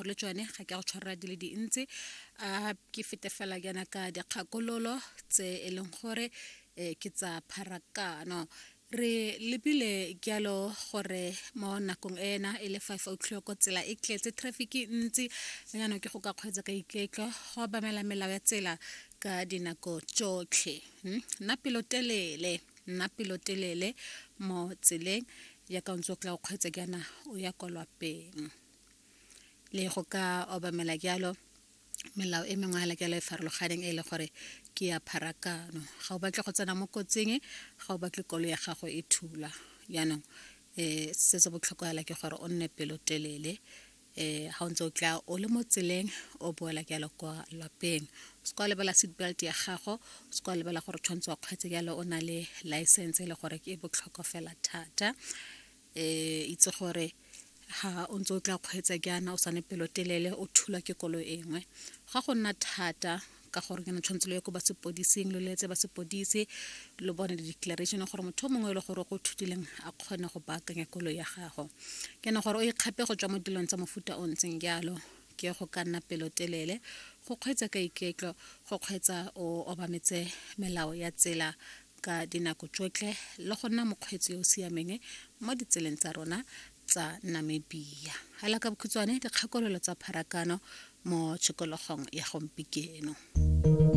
Le tsone ga ke a go tshwarela di le dintsi, a ke fete fela jaana ka dikgakololo tse e leng gore ke tsa pharakano. Re lebile jalo gore mo nakong ena e le 5 o'clock, tsela e tletse traffic e ntsi, jaanong ke go ka kgweetsa ka iketlo, go obamela melao ya tsela ka dinako tsotlhe. Nna pelotelele, nna pelotelele mo tseleng jaaka o ntse o tla o kgweetsa jaana o ya kwa lwapeng, le go ka obamela jalo melao e mengwe hela jalo e farologaneng e le gore ke ya pharakano. Ga o batle go tsena mo kotsing, ga o batle koloi ya gago e thula. Jaanong se se botlhokwa hela ke gore o nne pelotelele ga o ntse o tla o le mo tseleng o boela jalo kwa lapeng. O se ka wa lebala seat belt ya gago, o se ka wa lebala gore tshwanetse wa kgweetsa jalo o na le license, e le gore ke e botlhokwa fela thata. Itse gore ha o ntse o tla kgweetsa jaana o sa nne pelotelele, o thulwa ke koloi e nngwe, ga go nna thata, ka gore ke tshwanetse lo ye ko ba sepodising, lo letse ba sepodisi, lo bone di-declaration gore motho o mongwe e le gore go thutileng a kgone go baakanya koloi ya gago. Ke ne gore o ikgape go tswa mo dilong tsa mofuta o ntseng jalo ke go ka nna pelotelele, go kgweetsa ka iketlo, go kgweetsa o obametse melao ya tsela ka dinako tsotlhe, le go nna mokgweetsi yo o siameng mo ditseleng tsa rona tsa Namibia. Hela ka bokhutshwane, dikgakololo tsa pharakano mo tshikologong ya gompieno.